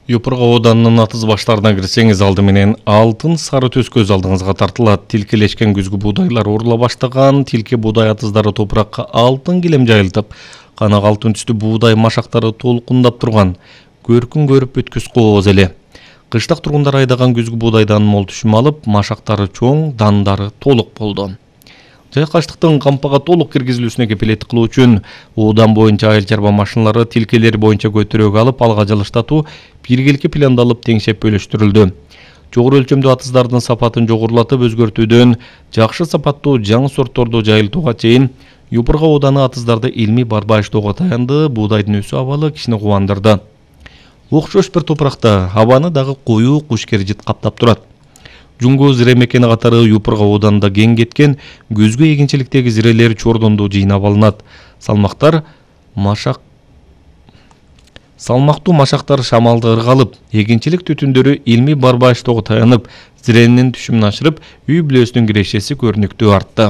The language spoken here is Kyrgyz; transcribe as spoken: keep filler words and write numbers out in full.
Юпурга Оданынын атыз баштарына кирсеңиз алды менен алтын сары төс көз алдыңызга тартылат. Тилкелешкен күзгү буудайлар орула баштаган, тилке буудай атыздары топуракка алтын килем жайылтып, канак алтын түстүү буудай машактары толкундап турган. Көркүн көрүп өткүз кооз эле. Кыштак тургундар айдаган күзгү буудайдан мол түшүм алып, машактары чоң, дандары толук болду. Жайкаштыктын кампага толук киргизилүүсүнө кепилеттик кылуу үчүн Одан боюнча айыл чарба машиналары тилкелер боюнча көтөрөөгө алып, алга жылыштатуу биргеликке пландалып теңшеп бөлүштүрүлдү. Жогору өлчөмдүү атыздардын сапатын жогорулатып өзгөртүүдөн жакшы сапаттуу жаңы сортторду жайылтууга чейин Юпурга Оданы атыздарды илмий барбаштоого таянды. Буудайдын өсүү абалы кишини кубандырды. Окшош бир топуракта абаны дагы коюу кушкер-жит каптап турат. Жуңго зире мекени катары Юпурга Оданында кең кеткен күзгү эгинчиликтеги зирелер чордондо жыйнап алынат. Салмактар машак Салмактуу машактар шамалды ыргалып, эгинчилик түтүндөрү илмий барбаштоого таянып, зиренин түшүмүн ашырып, үй бүлөсүнүн кирешеси көрүнүктүү артты.